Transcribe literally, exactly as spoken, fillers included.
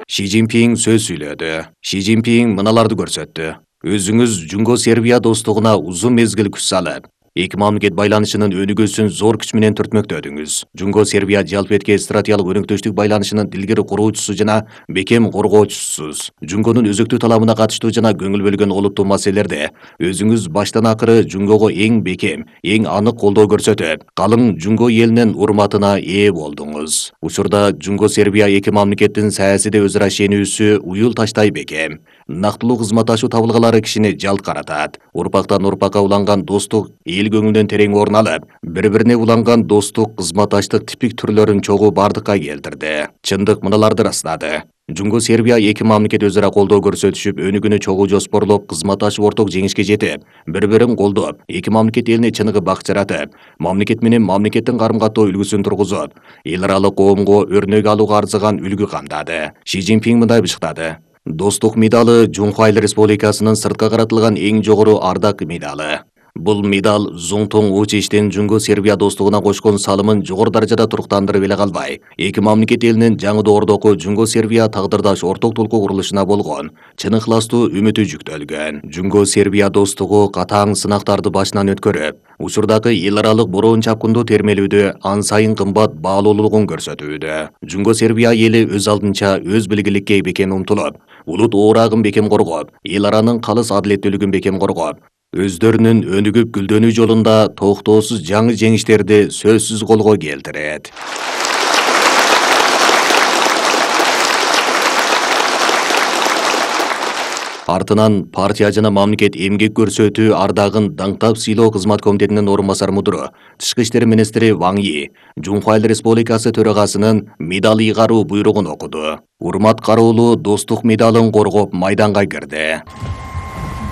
Ши Цзиньпин сөз сүйлөдү. Ши Цзиньпин мыналарды көрсөттү. Өзүңүз Жунго Сербия достугуна узун мезгил күч салып, эки мамлекет байланышынын өнүгүүсүн зор күч менен түртмөктөдүңүз. Жунго Сербия жалпы этке стратегиялык өнөктөштүк байланышынын илгери куруучусу жана бекем коргоочусусуз. Жунгонун өзөктүү талабына катыштуу жана көңүл бөлгөн олуттуу маселелерде өзүңүз баштан акыры Жунгого эң бекем, эң анык колдоо көрсөтүп, калың Жунго элинин урматына ээ болдуңуз. Учурда Жунго Сербия эки мамлекеттин саясий өз ара ишенүүсү уюл таштай бекем. Нактылуу кызматташуу табылгалары кишини жалт каратат. Урпактан урпакка уланган достук эл көңүлдөн терең орун алып, бири-бирине уланган достук кызматташтык типик түрлөрүн чогуу бардыкка келтирди. Чындык мыналарды ырастады. Жунго Сербия эки мамлекет өз ара колдоо көрсөтүшүп, өнүгүүнү чогуу жоспорлоп, кызматташып орток жеңишке жетип, бири-бирин колдоп, эки мамлекет элине чыныгы бак жаратып, мамлекет менен мамлекеттин карым-каттоо үлгүсүн тургузуп, эл аралык коомго өрнөк алууга арзыган үлгү камдады. Ши Цзиньпин мындай бышыктады. Достук медалы Жунхва Айыл Республикасынын сыртка каратылган эң жогору ардак медалы. Бул медал Зуңтуң Учичтин Жунго Сербия достугуна кошкон салымын жогору даражада туруктандырып эле калбай, эки мамлекет элинин жаңы доордогу Жунго Сербия тагдырдаш орток толку курулушуна болгон чын ыхластуу үмүтү жүктөлгөн. Жунго Сербия достугу катаң сынактарды башынан өткөрүп, учурдагы эл аралык бороон чапкындуу термелүүдө ан сайын кымбат баалуулугун көрсөтүүдө. Жунго Сербия эли өз алдынча өз билгиликке бекем умтулуп, улут оорагын бекем коргоп, эл аранын калыс адилеттүүлүгүн бекем коргоп, өздөрүнүн өнүгүп гүлдөнүү жолунда токтоосуз жаңы жеңиштерди сөзсүз колго келтирет. Артынан партия жана мамлекет эмгек көрсөтүү ардагын даңктап сыйлоо кызмат комитетинин орун басар мудуру, тышкы иштер министри Ван Yi Жунхва Айыл Республикасы төрагасынын медал ыйгаруу буйругун окуду. Урмат кароолуу достук медалын коргоп майданга кирди.